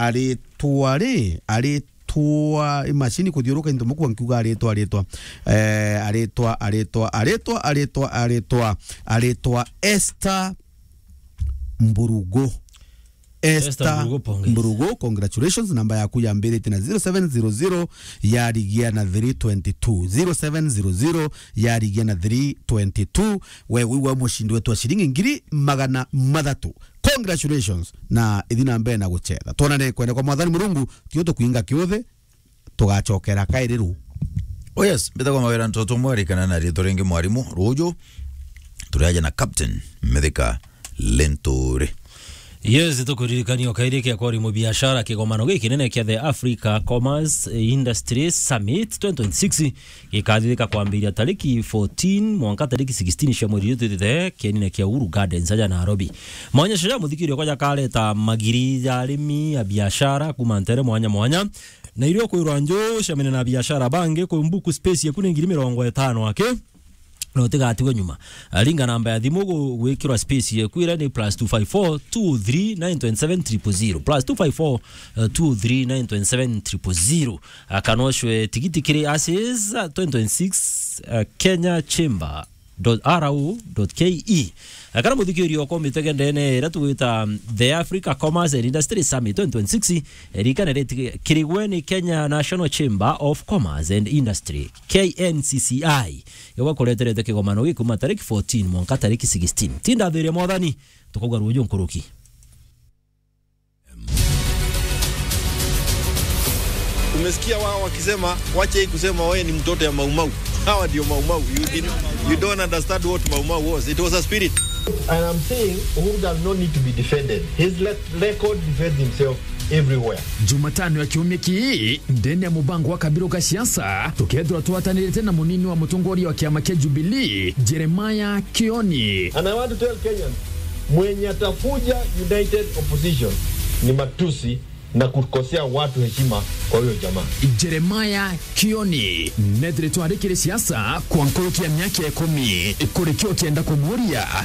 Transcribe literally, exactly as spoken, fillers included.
aritwa ri, aritwa imashini kuthiuruka into mukua nkiuga aritwa, aritwa. Eh, aritwa, aritwa, aritwa, aritwa, aritwa, aritwa Esther Mburugu. Esther Esther Mburugu, pongezi. Mburugu, congratulations. Namba yaku yambiritie na zero seven zero zero, yarigia na three twenty two. Zero seven zero zero, yarigia na three twenty two. We wigwa mushindi wetu wa shilingi ngiri magana mathatu. Congratulations. Na ithi na mbere na gucetha. Twonane kwenda kwa Mwathani Murungu, tio tukwinga kiuthi. Tugacokera kairi ru. Oh yes, mbitagwa Mawira Ntoto Mwari kana na ritwa ringi Mwarimu. Ruju turaja na Captain Mithika Lenturi. Yes, tukuririkania o kairi kia kwari mubiashara kigomano gikinene kia the Africa Commerce Industry Summit twenty twenty-six gikathithika kwambiria tariki fourteen mwanka tariki sixteen cia mweri uyu twitite kienine kia Uhuru Gardens aja Nairobi. Maonyesho ja muthikiri okwa jakareta magiri ja arimi a biashara kuma ntere mwanya mwanya. Na irio kwirwa nju ucemene na biashara bangi, kumbuku space yaku ni ngiri mirongo itano aki, na utigatigwe nyuma. Ringa namba ya thimu gu-, gwikirwa space yaku iria ni plus two five four two three nine twenty seven triple zero, plus two five four two three nine twenty seven triple zero. Kana ucwe tigiti kiri Aces twenty twenty-six, uh, Kenya Chamber dot R O dot K E. Kana muthikiri okwa umitege ndene iria tugwita, um, The Africa Commerce and Industry Summit twenty twenty-six, ririkana ritikirigwe ni Kenya National Chamber of Commerce and Industry, K N C C I. Igwa kureterete kigomano giki kuma tariki fourteen mwanka tariki sixteen. Tinda thiria Mwathani, tukauga ruju nkuruki. Umesikia wao wakisema, "Wacha hii kusema wewe ni mtoto ya Maumau." Hawa ndio Maumau. You didn't, you don't understand what Maumau was. It was a spirit. And I'm saying Uhuru does not need to be defended. His le-, record defends himself everywhere. Jumatano ya kiumia kii, ndene ya mubango wa Kabiru ka siasa, tukethirwa twatanirite na munini wa mutongoria wa kiama kia Jubilee, Jeremiah Kioni. And I want to tell Kenyans, mwenye atafuja united opposition ni matusi na kukosea watu heshima kwa huyo jamaa. Jeremiah Kioni, nethire twarikire siasa kwa nkuruki ya miaka ikumi. Kuri kio kienda kumuria,